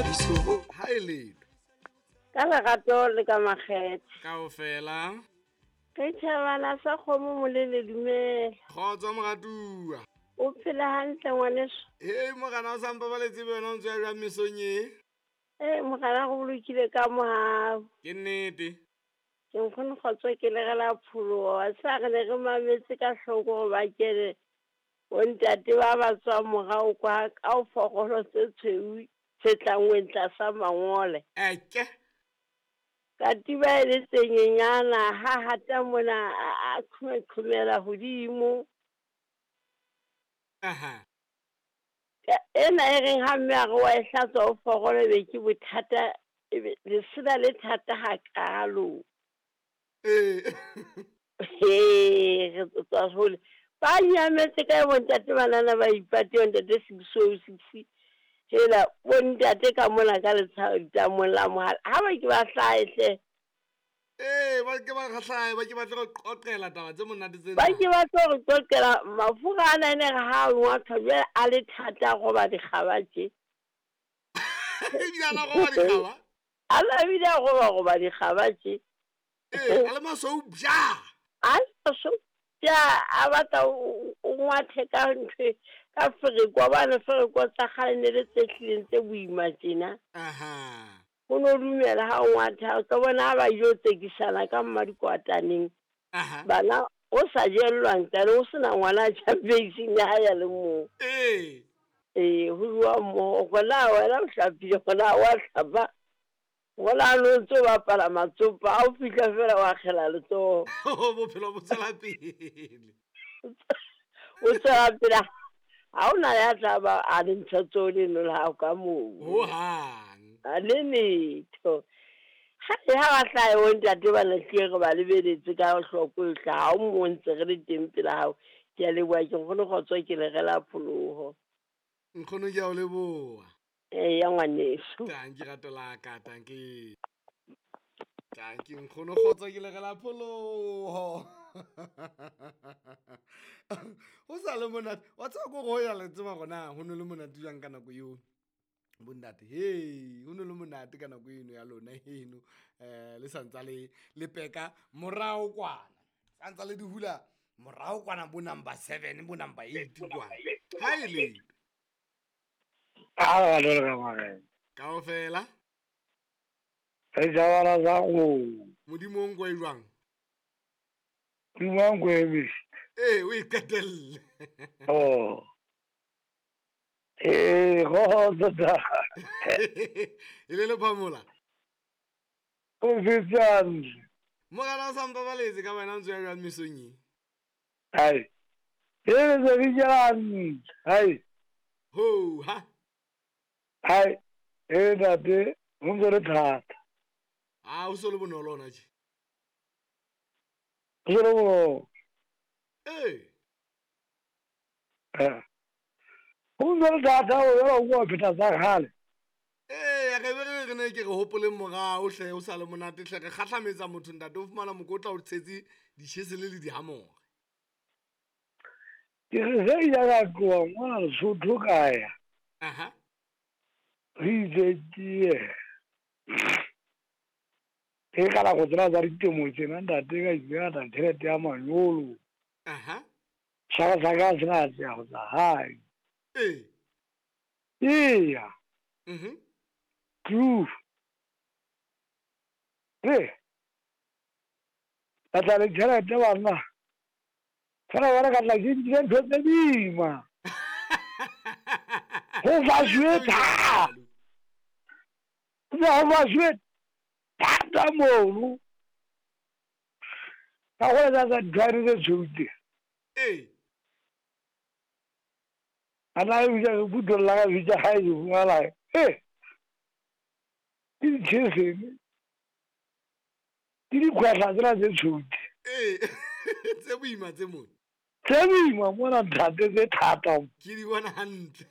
Ha e letho. Ka lerato le ka makgethe. Kaofela. Re tjhabana sa kgomo molele dumela. Kgotso moratuwa. O phela hantle ngwaneso. Hei morena o sa mpabaletse be wena o ntse ya jwang mesong e? Ee morena go bolokile ka mohau. Ke nnete. Ke nkgono kgotso ke legela pholoho. Wa tseba re ne re mametse ka hloko gore ba kene bontate ba ba tswang morao kwa ka o forolo tse tshweu tse tlangweng tlasa mangole. Eke. Katiba e le tse nyenyana ha hata mona a qhomela hodimo. Aha. Ena e reng ha mme a re wa e hlatswa o forolo be ke bothata ebe lesela le thata hakalo. Ee. He re tswa hole. Ba nyametse kae bontate banana ba ipate bontate 6006. Hela bontate ka mona ka letamong la mohala. Ha ba ke ba hlahe hle. Ee, ba ke ba hlahe, ba ke ba tlo re qoqela taba tse monate tsena. Ba ke ba tlo re qoqela mafura ana ene re ha ngwathwa jwale a le thata go ba dikgaba tje. Ebile a la goba dikgaba? A la bile a goba dikgaba tje. Ee, a le masweu bja. A le masweu bja, a batla o ngwathe ka ntho ka fereko, bane fereko tsa kgale ne le tse hlileng tse boima tjena. Aha. O no dumela ha o ngwatha, o tlo bona ha ba ile tsekisana ka mmadikwataneng. Aha. Bana o sa jellwang tane o sena ngwana a jang beising ya hae ya le mong. Ee. Ee, ho jowa mmoho, gona wena o hlapile, gona wa hlapa. Gona no ntse o bapala matsopa, ha o fihla fela wa kgela letsoho. Bophelo bo tswela pele. O tswela pele. Ha ona ya tla ba a le ntsha tseo leno la hao ka moo. Hohang. A le letho. Ha e ha ba hlahe bo ntate ba lahlile re ba lebeletse ka hloko e hle, ha o mo ntse re le teng pela hao. Ke a leboha ke nkgono kgotso ke le rela pholoho. Nkgono ke a o leboha. Eya ngwaneso. Tanki rato la ka, tanki. Tanki nkgono kgotso ke le rela pholoho. Ho sa le monate. Wa tseba ko go ya le tseba gona ho no le monate jwang ka nako eo. Bondate, hey, ho no le monate ka nako eno ya lona eno. Le santsa le le peka morao kwana. Santsa le di hula morao kwana bo number 7 bo number 8 kwana. Ha e le. A ba le ka mare. Kaofela. Re jabala za go. Modimo o nkwe jwang? Modimo o nkwe emise. Ee, o e qetelle. Oh. Ee, go da. E le le phamola. O fetsang. Morena o sa mpabaletse ka wena ntse ya jwang mesong e? Hai. E le se di jang. Hai. Ho ha. Hai. E ntate, ho ntse le thata. A o so le bonolo ona tje. Ho so le bonolo. Ee. Eh. Ho ntse le thata o yela o bua pheta tsa kgale. Ee, re be re ne ke re hopoleng morao hle o sa le monate hle re kgahlametsa motho ntate o fumana mokotla o tshetse ditjhesele le dihamore. Ke re ge ya ka tloha mona Lesotho ka ya. Aha. Re itse ke e ka nako tsena tsa ditemo tsena ntate ka itse ka tjhelete ya manyolo. Aha. Saka saka sena tsa go tsa hae. Ee. Eya. Mhm. True. Ee. Ka tla le tjhelete banna. Fela wena ka tla ke nkile ntho tse boima. Ho fasuwe thata. Ho fasuwe thata mono. Ka go etsa tsa ditlhwaere tse tshweu tse. Ee. A na e bitsa ke phutolla ka bitsa ha e fumana. Ee. Ke ditjhesene. Ke dikgwehla tsena tse tshweu tse. Ee. Tse boima tse mona. Tse boima mona ntate tse thata. Ke di bona hantle.